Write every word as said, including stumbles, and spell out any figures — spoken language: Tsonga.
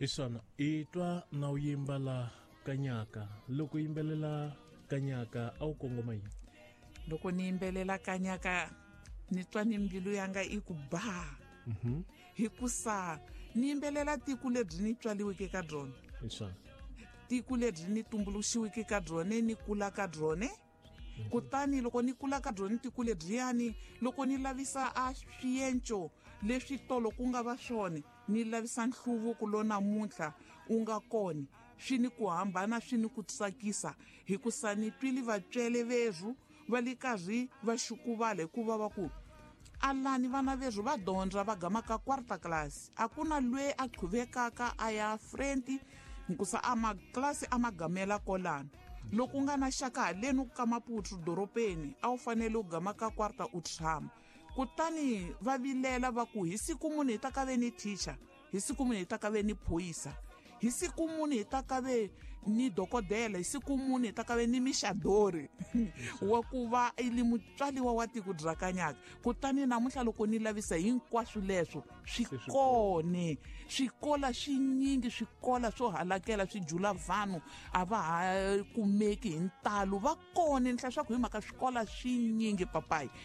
Hi swona i twa na u yimba la kanyaka. Loko yimbelela kanyaka a wu kongoma yini? Loko ni yimbelela kanyaka ni twa ni mbilu yanga i ku ba, hikusa ni yimbelela tiko lebyi ni tswaliweke ka byona, Hi swona. tiko lebyi ni tumbuluxiweke ka byona, ni kula ka byona. Kutani loko ni kula ka byona tiko lebyiyani, loko ni lavisa a swienco leswi tolo ku nga va swona, ni lavisa nhluvuko lo namuntlha wu nga kona, swi ni ku hambana, swi ni ku tsakisa, hikusa ni twile vatswele verhu va le karhi va xukuvala, hikuva va ku alani vana verhu va dyondza va gama ka quarta class, a ku na lwe a qhuvekaka a ya frenti, hikusa a maklasi a ma gamela kolano. Loko u nga na xaka haleni ka Maputo doropeni, a wu fanele u gama ka quarta u tshama. Kutani va vilela va ku hi siku muni hi ta ka ve ni teacher, hi siku muni hi ta ka ve ni phorisa, hi siku muni hi ta ka ve ni dokodela, hi siku muni hi ta ka ve ni mixadori wa ku va i li mutswaliwa wa tiko bya kanyaka. Kutani namuntlha loko ni lavisa hinkwaswo leswo swi kone, swikola swinyingi, swikola swo halakela swi jula vanhu a va ha kumeki hi ntalo, va kone ni hlaya swa ku hi mhaka swikola swinyingi papayi.